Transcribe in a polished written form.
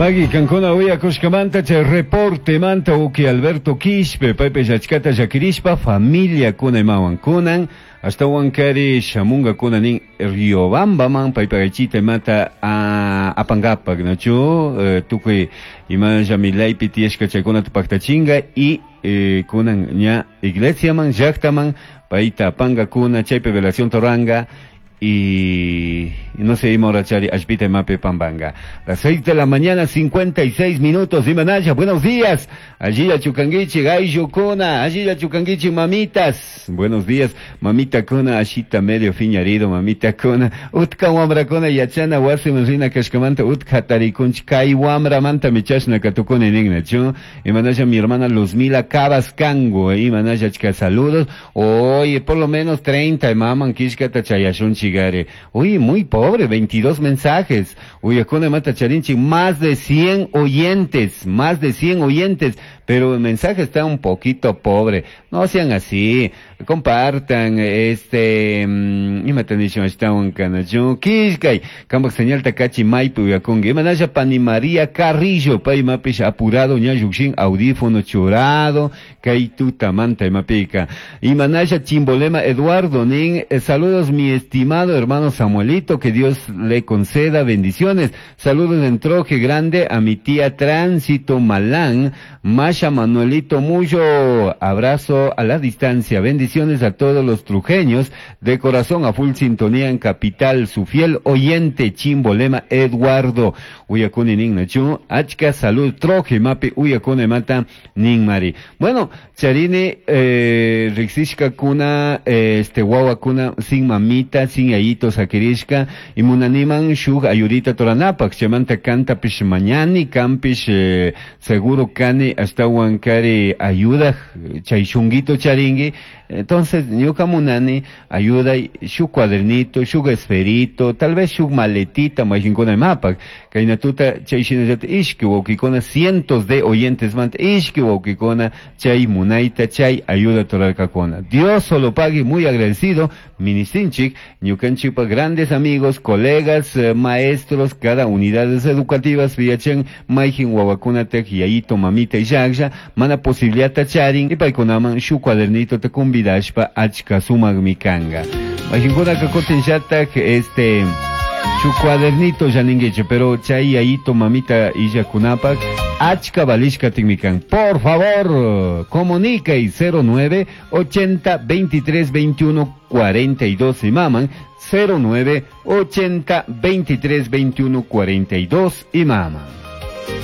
Pagui kankuna uyakushkamanta chay reportemanta uki Alberto Quispe paypish achkata llakirishpa familiakuna imawan kunan ashtawankari shamunkakuna nin Riobambaman paypak aychita imata apankapak nachu tukuy imalla milaypi tiyashka chaykunata paktachinka y kunan ña iglesiaman llaktaman payta apankakuna chaypi velación ruranka y no sé, ima horachari allpita imapi pampanga. Las 6 de la mañana, 56 minutos. Imanaya, buenos días. Allilla chukanguichi, ayllu kuna, allilla chukanguichi, mamitas. Buenos días, mamita kuna, ashita medio fiñarido, mamita kuna. Utka wamrakuna, yachana wasiman rina kashkamanta, utka hatarikunchik, kay wamramanta michashna katukuni ningnachu. Imanaya mi hermana Luzmila Cabas Cango, imanaya achka saludos. Oye, por lo menos 30, maman kishkata chayashunchik. Uy, muy pobre, 22 mensajes. Uy, akuna mata charinchi, más de 100 oyentes, más de 100 oyentes, pero el mensaje está un poquito pobre. No sean así, compartan, imata nishun ashtawan kanachu, kishkay, kambak señal takachi maypi uyakunki. Imanasha pani María Carrillo, pay imapish apurado, ña llukshin, audífono churado, kay tutamanta imapika. Imanasha Chimbolema Eduardo, nin, saludos mi estimado hermano Samuelito, que Dios le conceda bendiciones. Saludos en Troje Grande a mi tía Tránsito Malán, Masha Manuelito Muyo, abrazo a la distancia, bendiciones a todos los trujeños, de corazón a full sintonía en Capital, su fiel oyente Chimbolema Eduardo, Uyakuni Ningnachu, Achka salud, Troje Mapi, Uyakune Mata, Ningmari. Bueno, Charini, Rixishka Kuna, Wawa Kuna, sin mamita, sin ayito sakirishka, y munaniman shug ayudita toranapak, chamanta canta pish mañani, campish, seguro kani, hasta huancari ayuda, chay shunguito charingui. Entonces, ñuka munani ayuda shu cuadernito, shu esferito, tal vez shu maletita, majinkuna mapak, kainatuta chay shinallata ishki wawkikuna, cientos de oyentes manta, ishki wawkikuna, chay munaita, chay ayuda torarkakuna. Dios solo pague, muy agradecido, ministinchik, ñukanchikpa grandes amigos, colegas, maestros, cada unidades educativas, viachen, maijin wawakuna tek, yayito, mamita y yaksha, mana posibilidad charin, y paykunaman shu cuadernito te convidashpa achka sumagmi kanga. Majinkuna kakutin shatak, shu cuadernito ya ninguiche, pero chay yayito, mamita y yakunapak, achka valishka tinmikan. Por favor, comunica y cero nueve 80 23 21 42 y maman, cero nueve 80 23 21 42 y maman.